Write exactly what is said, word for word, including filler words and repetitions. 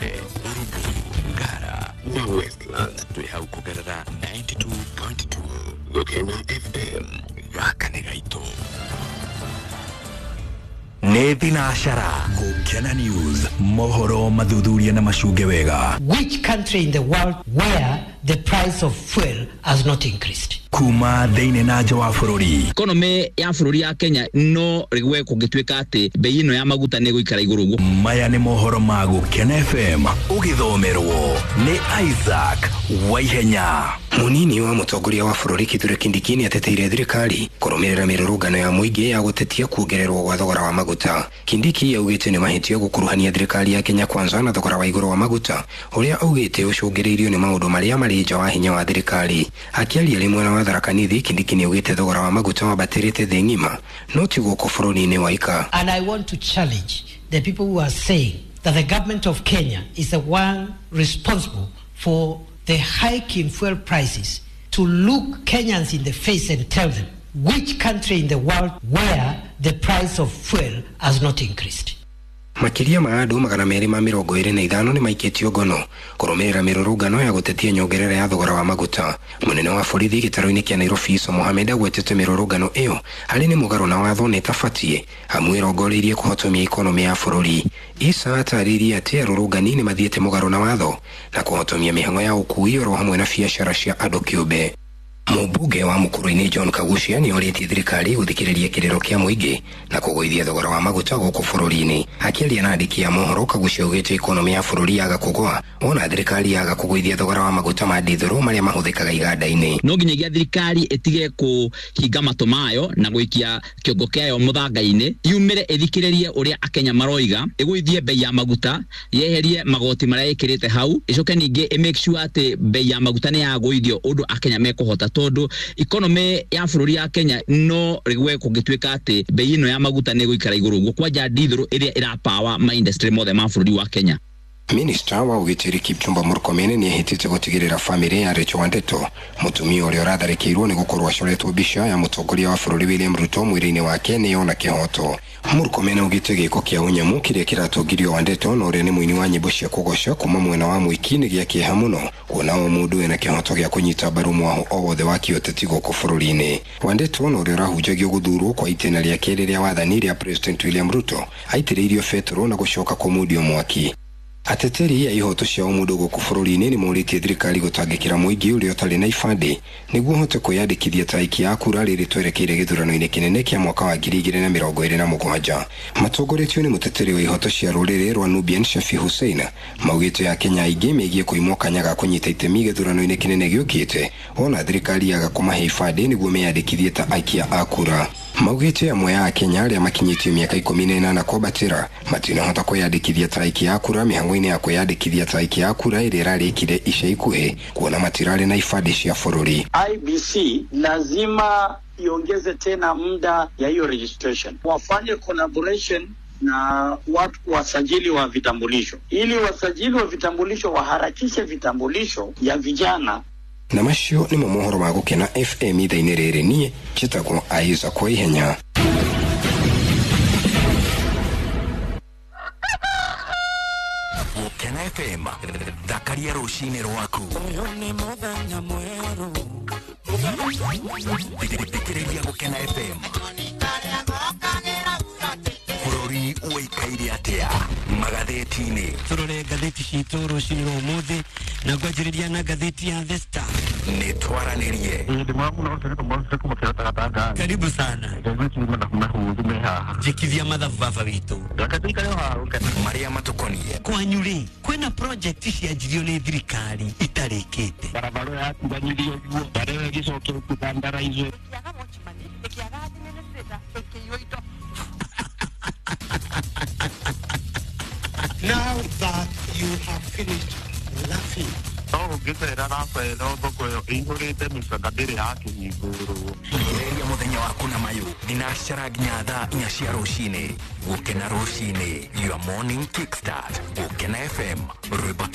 Kwale, Uruguru, Ngara na Westlands. Twĩ hau kũgerera ninety two point two Gũkena F M. Gaka nĩ gaitũ. Nĩ thinacara. Gũkena News, mohoro mathuthuria na macunge wega. Which country in the world where the price of fuel has not increased? Kuma thĩinĩ na nja wa bũrũri. Economy ya bũrũri ya Kenya no rĩgwe kũngĩtuĩka atĩ bei ĩno ya maguta nĩ ĩgũikara igũrũ ũguo. Maya nĩ mohoro ma Gũkena F M ũgĩthomerwo nĩ Isaac Waihenya. Munini wa mũtongoria wa bũrũri Kithure Kindiki nĩ ateteire thirikari kũrũmĩrĩra mĩrũrũngano ya mũingĩ ya gũtetia kuongererwo gwa thogora wa maguta. Kindiki augĩte nĩ mahĩtia gũkuruhania thirikari ya Kenya Kwanza na thogora wa igũrũ wa maguta ũrĩa augĩte ũcũngĩrĩirio nĩ maũndũ marĩa marĩ nja wa hinya wa thirikari. Akĩaria rĩ mwena wa Tharaka Nithi, Kindiki nĩ augĩte thogora wa maguta wambatĩrĩte thĩ ng'ima no ti gũkũ bũrũri-inĩ wa Ika. And I want to challenge the people who are saying that the government of Kenya is the one responsible for the hike in fuel prices to look Kenyans in the face and tell them which country in the world where the price of fuel has not increased. Makĩria ma andũ magana merĩ ma mĩrongo ĩrĩ na ithano nĩ maikĩtio ngono kũrũmĩrĩra mĩrũrũngano ya gũtetia nyongerera ya thogora wa maguta. Mũnene wa borithi gĩtarũ-inĩ kĩa Nairobi Issa Mohamed agwetete mĩrũrũngano ĩyo harĩ nĩ mũgarũ na watho na ĩtabatiĩ amu ĩrongoreirie kũhotomia ikonomĩ ya bũrũri. Issa atarĩirie atĩ arũrũngani nĩ mathiĩte mũgarũ na watho na kũhotomia mĩhang'o ya ũkui oro hamwe na biacara cia andũ kĩũmbe. Mũmbunge wa Mũkũrũ-inĩ John Kaguchia nĩ orĩtie thirikari gũthikĩrĩria kĩrĩro kĩa mũingĩ na kũgũithia thogora wa maguta gũkũ bũrũri-inĩ. Akĩaria na andĩki a mohoro, Kaguchia augĩte ikonomĩ ya bũrũri yaga kũgũa ona thirikari yaga kũgũithia thogora wa maguta ma ndithũrũ marĩa mahũthĩkaga iganda-inĩ. No nginyagia thirikari ĩtige kũhinga matũ mayo na gũikia kĩongo kĩayo mũthanga-inĩ, yumĩre ĩthikĩrĩrie ũrĩa Akenya maroiga, ĩgũithie bei ya maguta, yeherie magoti marĩa ĩkĩrĩte hau, ĩcoke ningĩ ĩ make sure atĩ bei ya maguta nĩ yagũithio ũndũ Akenya mekũhota, tondũ economy ya bũrũri ya Kenya no rĩgwe kũngĩtuĩka atĩ bei ĩno ya maguta nĩ ĩgũikara igũrũ ũguo, kwanja ndithũrũ ĩrĩa ĩrapawa ma industry mothe ma bũrũri wa Kenya. Minista wa ũgitĩri Kipchumba Murkomen nĩ ehĩtĩte gũtigĩrĩra famĩlĩ ya Rachel Wandeto, mũtumia ũrĩa ũratharĩkĩirwo nĩ gũkorwo acoretwo mbica ya mũtongoria wa bũrũri William Ruto mwĩrĩ-inĩ wake nĩ yona kĩhoto. Murkomen augĩte gĩko kĩa ũnyamũ kĩrĩa kĩratongirio Wandeto na ũrĩa nĩ mũini wa nyĩmbo cia kũgoca kuma mwena wa Mwiki nĩ gĩa kĩeha mũno kuona o mũndũ ena kĩhoto gĩa kũnyita mbaru mwaho o wothe wa kĩũteti gũkũ bũrũri-inĩ. Wandeto na ũrĩa ũrahunjagio gũthurwo kwa itĩna rĩa kerĩ rĩa wathani rĩa President William Ruto aitĩrĩirio betũrũ na gũcoka kũmundio mwaki. Ateteri a ihoto cia ũmũndũ gũkũ bũrũri-inĩ nĩ morĩtie thirikari gũtangĩkĩra mũingĩ ũrĩa ũtarĩ na ibandĩ nĩguo ũhote kwĩyandĩkithia ta aikia a kura rĩrĩ twerekeire gĩthurano-inĩ kĩnene kĩa mwaka wa ngiri igĩrĩ na mĩrongo ĩrĩ na mũgwanja. Matongoretio nĩ mũteteri wa ihoto cia rũrĩrĩ rwa Nubian Shafi Hussein maugĩte Akenya aingĩ megiĩ kũimwo kanya ga kũnyita itemi gĩthurano-inĩ kĩnene gĩũkĩte ona thirikari yaga kũmahe ibandĩ nĩguo meyandĩkithie ta aikia a kura. Maugĩte amwe a Akenya arĩa makinyĩtie mĩaka ikũmi na ĩnana kwambatĩra matinahota kwĩyandĩkithia ta aikia a kura mĩhang'o-inĩ ya kwĩyandĩkithia ta aikia a kura ĩrĩa ĩrarĩkire ica ikuhĩ kuona matirarĩ na ibandĩ cia bũrũri. I B C lazima iongeze tena muda ya hiyo registration, wafanye collaboration na watu wasajili wa vitambulisho ili wasajili wa vitambulisho waharakishe vitambulisho ya vijana. Na macio nĩmo mohoro ma Gũkena F M ithaa-inĩ rĩrĩ. Niĩ njĩtagwo Isaac Waihenya. Gũkena F M, thakaria rũcinĩ rwaku. Thikĩrĩria Gũkena F M. Bũrũri ũikaire atĩa magathĩti-inĩ? Tũrore ngathĩti citũ rũcinĩ rwa ũmũthĩ na ngwanjĩrĩria na ngathĩti ya The Star. Nĩ twaranĩrie. Karibu sana. Njĩkithia mathabu baba witũ. Marĩa matũkoniĩ. Kwanyu rĩ, kwĩna project cianjirio nĩ thirikari itarĩkĩte. Barabara yatiganĩrio ũguo, barabara ĩgĩcokio kũtandaraizwo. Now that you have finished laughing. No ũngĩcera Rafaelo thoko ĩyo ĩihũrĩte mĩcaka ndĩrĩ yakĩhingũrwo. Thikĩrĩria mũthenya waku na mayũ thinacara nginya thaa inya cia rũcinĩ. Gũkena rũcinĩ, your morning kickstart. Gũkena F M, rwĩmbo